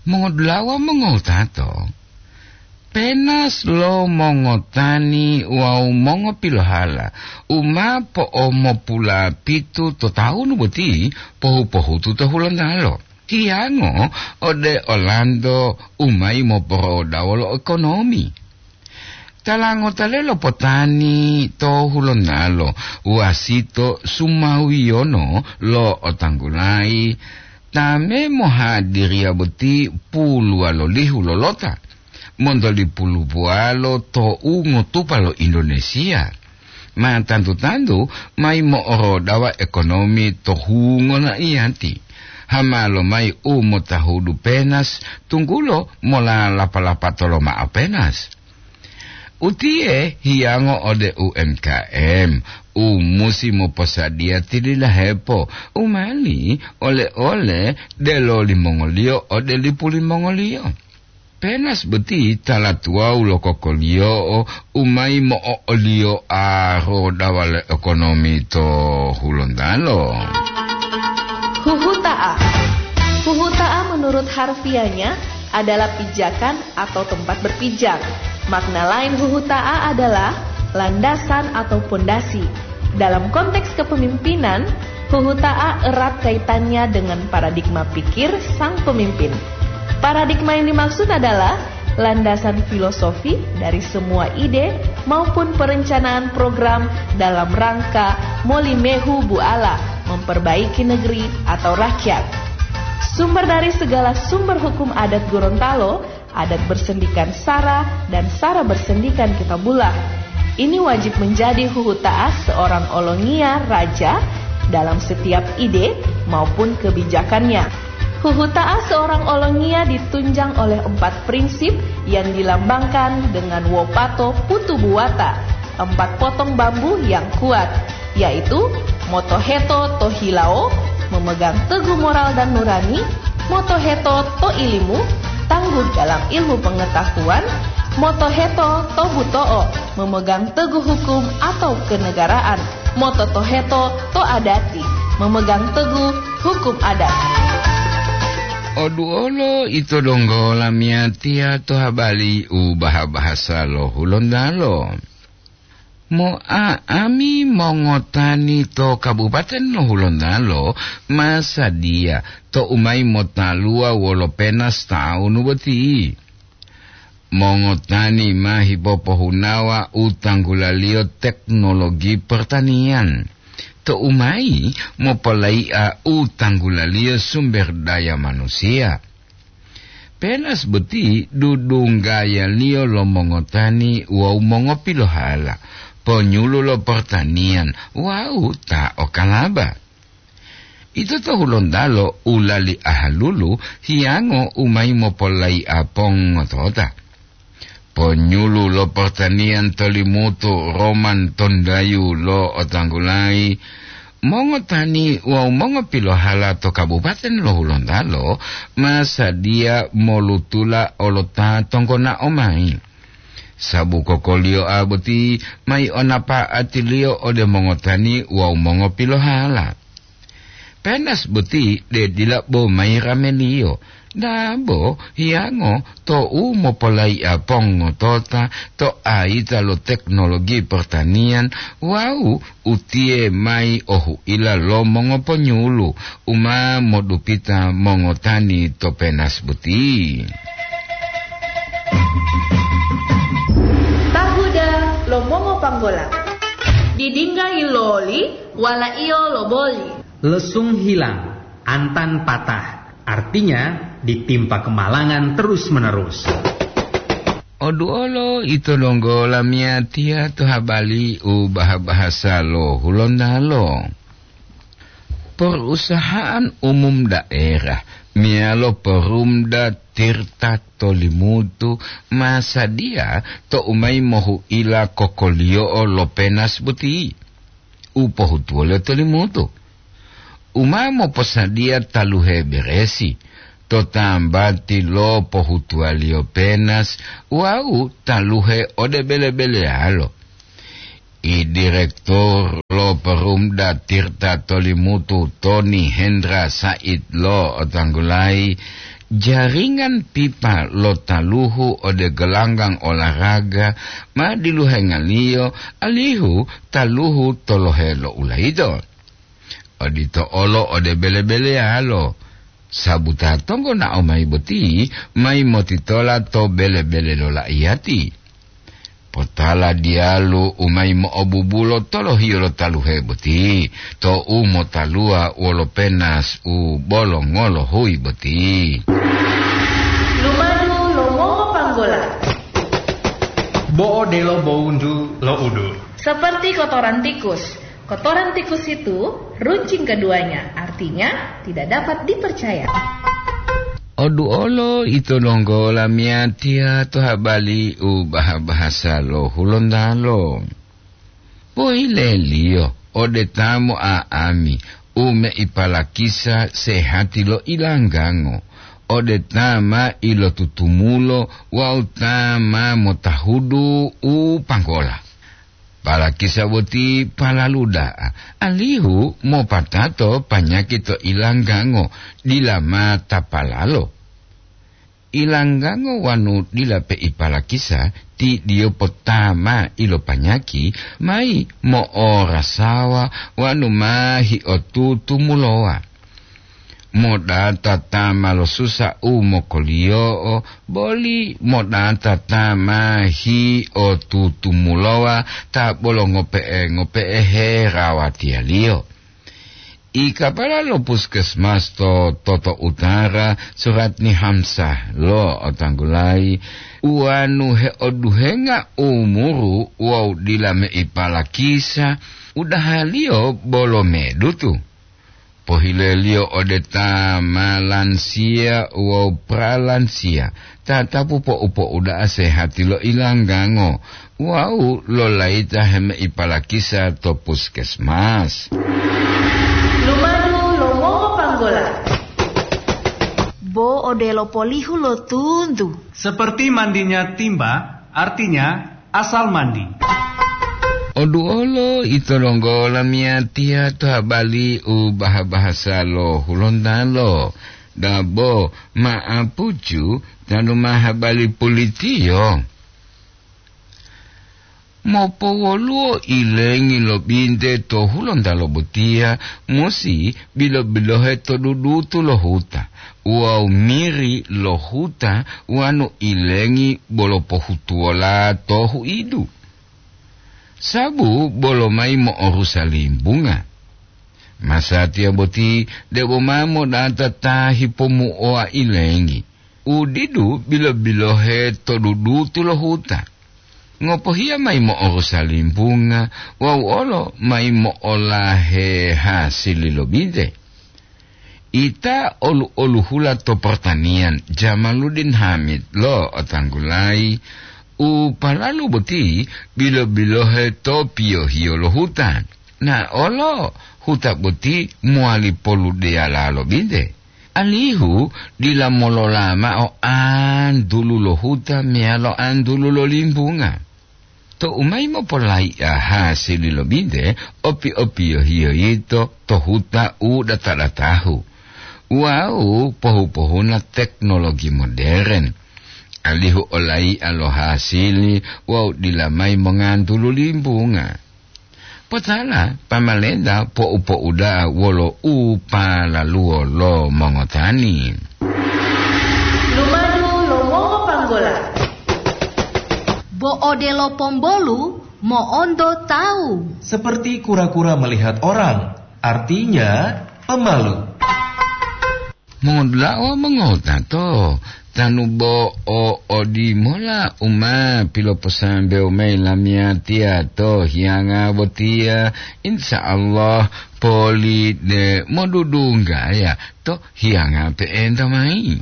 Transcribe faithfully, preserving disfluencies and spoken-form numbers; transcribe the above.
Mongodulawa mongowutato, penas lo mongotani wawu mongopilohala u ma po'omopulapitu to tawunu boti pohu-pohutu to Hulontalo. Hiyango ode olanto u mayi moporodawo lo ekonomi. Talangota lelo potani to Hulontalo wasito sumawiyono lo otanggulayi ta me mohadiriya boti puluwalolihu lolota, monto lipulubuwalo to ungotupa lo Indonesia. Ma tantu-tantu mayi mo'orodawa ekonomi to hungo naiyati. Hama lomayi u motahudu penas, tunggulo mola lapa-lapatolo ma'o penas. Utiye hiyango ode U M K M, u musi moposadiya tililahepo u mali ole-ole delo limongoliyo ode lipu limongoliyo. Penas boti tala tuwawu lo kokoliyo'o u mayi mo'o'oliyoa rodawa lo ekonomi to Hulontalo. Huhuta'a. Huhuta'a menurut harfiahnya adalah pijakan atau tempat berpijak. Makna lain huhuta'a adalah landasan atau pondasi. Dalam konteks kepemimpinan, huhuta'a erat kaitannya dengan paradigma pikir sang pemimpin. Paradigma yang dimaksud adalah landasan filosofi dari semua ide maupun perencanaan program dalam rangka molimehu buala memperbaiki negeri atau rakyat. Sumber dari segala sumber hukum adat Gorontalo, adat bersendikan sara dan sara bersendikan kitabullah. Ini wajib menjadi huhuta'a seorang olongiya raja dalam setiap ide maupun kebijakannya. Huhuta'a seorang olongiya ditunjang oleh empat prinsip yang dilambangkan dengan wopato putu buwata, empat potong bambu yang kuat, yaitu motoheto to hilawo, memegang teguh moral dan nurani, motoheto to ilimu, tangguh dalam ilmu pengetahuan, motoheto to buto'o, memegang teguh hukum atau kenegaraan, mototoheto to adati, memegang teguh hukum adat. Oduolo ito donggo lamiyatiya to habali u baha-bahasa lo Hulontalo. Mo'a'ami mongotani to Kabupaten lo Hulontalo ma sadiya to u mayi motaluwa wolo penas tawunu boti. Mongotani ma hipopohunawa u tanggulaliyo teknologi pertanian, to u mayi mopolai'a u tanggulaliyo sumber daya manusiya. Penas boti dudunggayaliyo lo mongotani wawu mongopilohala, ponyulu lo pertanian wawu ta o kalaba. Ito to Hulontalo u lali ahalulu hiyango u mayi mopolai'a pongotota. Ponyulu lo pertanian to Limutu Roman Tondayu lo otanggulayi, mongotani wawu mongopilohala to Kabupaten lo Hulontalo ma sadiya molutula olota tonggona'o mayi. Sabu kokoliyo'a boti mayi o napa'atiliyo ode mongotani wawu mongopilohala. Penas boti de dila bo mayi rameliyo, dabo hiyango to u mopolai'a pongotota to ayita lo teknologi pertanian wawu utiye mayi o hu'ila lo mongoponyulu u ma modupita mongotani to penas boti. Tahuda lo mongopanggola. Didingga yiloli, wala'iyo loboli. Lesung hilang, antan patah, artinya ditimpa kemalangan terus-menerus. Oduolo ito donggo lamiyatiya to habali u baha-bahasa lo Hulontalo. Perusahaan umum daerah meyalo Perumda Tirta to Limutu ma sadiya to u mayi mohu'ila kokoliyo'o lo penas boti u pohutuwoliyo to Limutu. U ma moposadiya taluhe beresi to tambati lo pohutuwaliyo penas wawu taluhe ode bele-beleyalo. I direktur lo Perumda Tirta to Limutu, Tony Hendra Said lo otanggulayi, Jaringan pipa lo taluhu ode gelanggang olahraga ma diluhengaliyo alihu taluhu tolohe lo ulayido. Odito olo ode bele-beleyalo, sabu ta tonggonao mayi boti mayi motitola to bele-bele lo laiyati. Potala diyalu u mayi mo'obubulo tolohiyo lo taluhe boti, to u motaluwa wolo penas u bolongolo huyi boti. Lumadu lo mongopanggola. Bo'o delo bowuntu lo udu. Seperti kotoran tikus. Kotoran tikus itu runcing keduanya, artinya tidak dapat dipercaya. Oduolo ito donggo lamiyatiya to habali u baha-bahasa lo Hulontalo. Poileliyo ode ta mo'a'ami u meipalakisa sehati lo ilanggango, ode ta ma ilotutumulo wawu ta ma motahudu u panggola. Palakisa boti palalu da'a, alihu mopatato panyaki to ilanggango dila ma tapalalo. Ilanggango wanu dila peipalakisa, ti diyo potama ilopanyaki mayi mo'orasawa wanu ma hiotutumulowa. Modata ta ma losusa u mokoliyo'o, boli modata ta ma hiotutumulowa ta bolo ngope'e-ngope'e herawatiyaliyo. I kapala lo puskesmas to Toto Utara, Suratni Hamsah lo otanggulayi, uwanu heoduhenga umuru wawu dila meipalakisa, udahaliyo bolo medutu. Pohileliyo ode ta ma lansiya wawu pralansiya, tatapu po'u-po'u da'a sehati lo ilanggango wawu lolayita hemeipalakisa to puskesmas. Lumadu lo mongopanggola. Bo odelo polihu lo tuntu. Seperti mandinya timba, artinya asal mandi. Oduolo ito donggo lamiyatiya to habali u baha-bahasa lo Hulontalo, dabo ma'apucu tanu ma habali pulitiyo. Mopowoluwo ilengi lo binte to Hulontalo botiya musi bilo-bilohe to dudutu lo huta, wawu miri lo huta wanu ilengi bolo pohutuwola to huidu. Sabu bolo mayi mo'orusa limbunga. Masatiya boti debo ma modata ta hipomu'owa ilengi, u didu bilo-bilohe to dudutu lo huta. Ngopohiya mayi mo'orusa limbunga wawu olo mayi mo'olahe hasili lo binte. Ita olu-oluhula to pertanian Jamaluddin Hamid lo otanggulayi u palalu boti bilo-bilohe to piyohiyo lo huta. Na olo huta boti mowali poludeyala lo binte. Alihu dila molola ma'o antulu lo huta meyalo antulu lo limbunga. Tou mayi mopolai'a hasili lo binte, opi-opiyohiyo yito to huta u data-datahu wawu pohu-pohuna teknologi moderen, alihu olai'a lo hasili wawu dila mayi mongantulu limbunga. Potala, pamalenta po'u-po'uda'a wolo u palaluwo lo mongotani. Lumadu lo mongopanggola. Bo odelo pombolu mo'onto tawu. Seperti kura-kura melihat orang, artinya pemalu. Mongodula'a wawu mongotato, tanu bo o odimola u ma piloposambewo mayi lamiyatiya to hiyanga botiya, insya Allah poli de modudunggaya to hiyanga pe'enta mayi.